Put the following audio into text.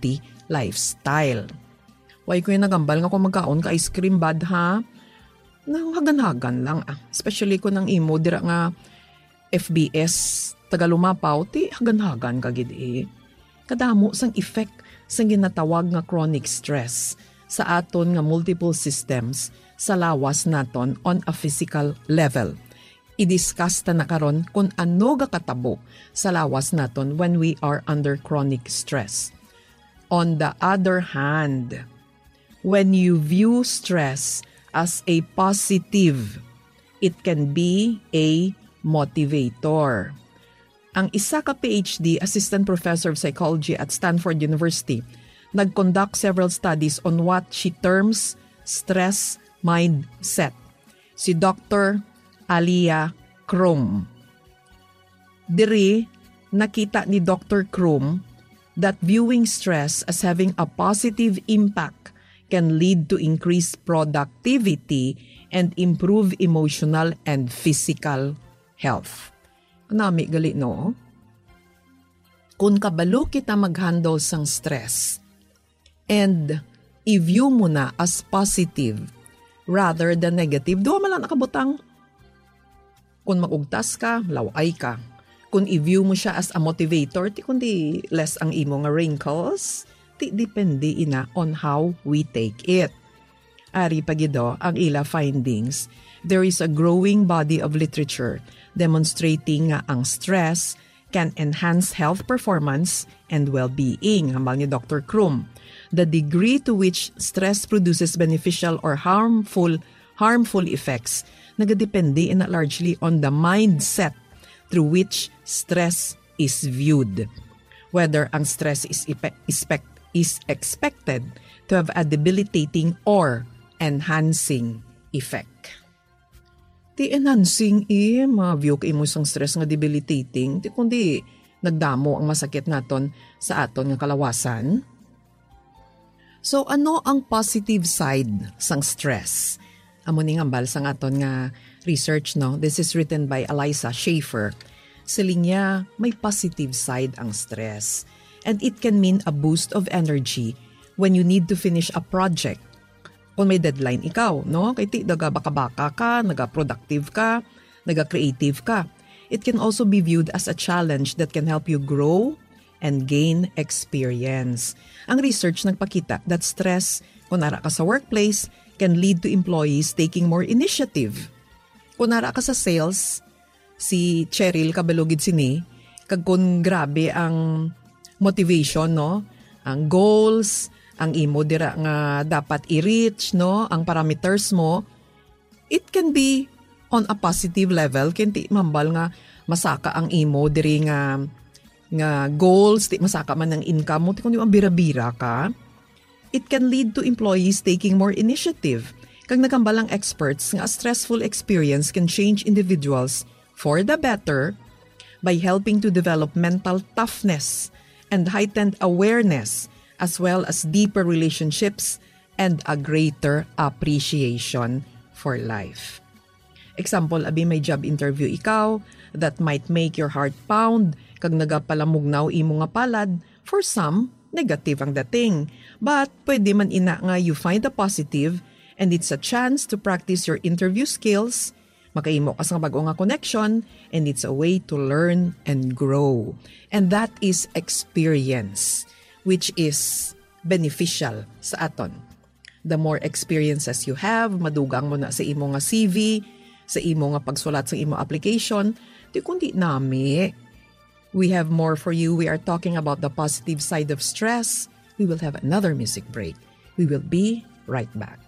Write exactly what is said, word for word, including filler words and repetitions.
healthy lifestyle. Why ko yung nagambal nga kung magkaon ka ice cream bad, ha? Nang hagan-hagan lang, ah. Especially kung ang imo dira nga F B S, taga Lumapaw, ti hagan-hagan ka gid, eh. Kadamo sang effect sang ginatawag nga chronic stress sa aton nga multiple systems sa lawas naton on a physical level. I-discuss ta na karon kung ano gakatabo sa lawas naton when we are under chronic stress. On the other hand, when you view stress as a positive, it can be a motivator. Ang isa ka P H D assistant professor of psychology at Stanford University nag-conduct several studies on what she terms stress mindset, si Doctor Alia Crum. Diri, nakita ni Doctor Crum that viewing stress as having a positive impact can lead to increased productivity and improve emotional and physical health. Nami gali, no? Kung kabalo kita mag-handle sang stress, and i-view mo na as positive rather than negative, duha man lang nakabutang. Kung mag-ugtas ka, law-ay ka. Kung i-view mo siya as a motivator, ti kundi less ang imo nga wrinkles, ti depende ina on how we take it. Ari pa gid, oh, ang ila findings. There is a growing body of literature demonstrating nga ang stress can enhance health performance and well-being, hambal ni Doctor Crum. The degree to which stress produces beneficial or harmful harmful effects nagadepende ina largely on the mindset through which stress is viewed. Whether ang stress is, epe- expect- is expected to have a debilitating or enhancing effect. Ti enhancing, eh, ma-view ka imo sang stress nga debilitating, ti kundi nagdamo ang masakit naton sa aton nga kalawasan. So, ano ang positive side sang stress? Amo ni nga hambal sang aton nga research, no? This is written by Eliza Schaefer. Siling niya, may positive side ang stress. And it can mean a boost of energy when you need to finish a project. Kung may deadline ikaw, no? Kay ti, naga-baka-baka ka, naga-productive ka, naga-creative ka. It can also be viewed as a challenge that can help you grow and gain experience. Ang research nagpakita that stress, kung ara ka sa workplace, can lead to employees taking more initiative. Kung ara ka sa sales, si Cheryl kabalo gid sini, kag kung grabe ang motivation, no? Ang goals, ang imo dira nga dapat i-reach, no? Ang parameters mo, it can be on a positive level, kay ti mahambal nga masaka ang imo diri nga, nga goals, ti masaka man ang income mo, ti kundi mabira-bira ka. It can lead to employees taking more initiative. Kag nagambal ang experts nga a stressful experience can change individuals for the better by helping to develop mental toughness and heightened awareness, as well as deeper relationships and a greater appreciation for life. Example, abi may job interview ikaw that might make your heart pound kag nagapalamugnaw imo nga palad. For some, negative ang dating. But pwede man ina nga you find a positive and it's a chance to practice your interview skills, makaimo ka sa bag-o nga connection, and it's a way to learn and grow. And that is experience, which is beneficial sa aton. The more experiences you have, madugang mo na sa imo nga C V, sa imo nga pagsulat sa imo application, di kundi nami. We have more for you. We are talking about the positive side of stress. We will have another music break. We will be right back.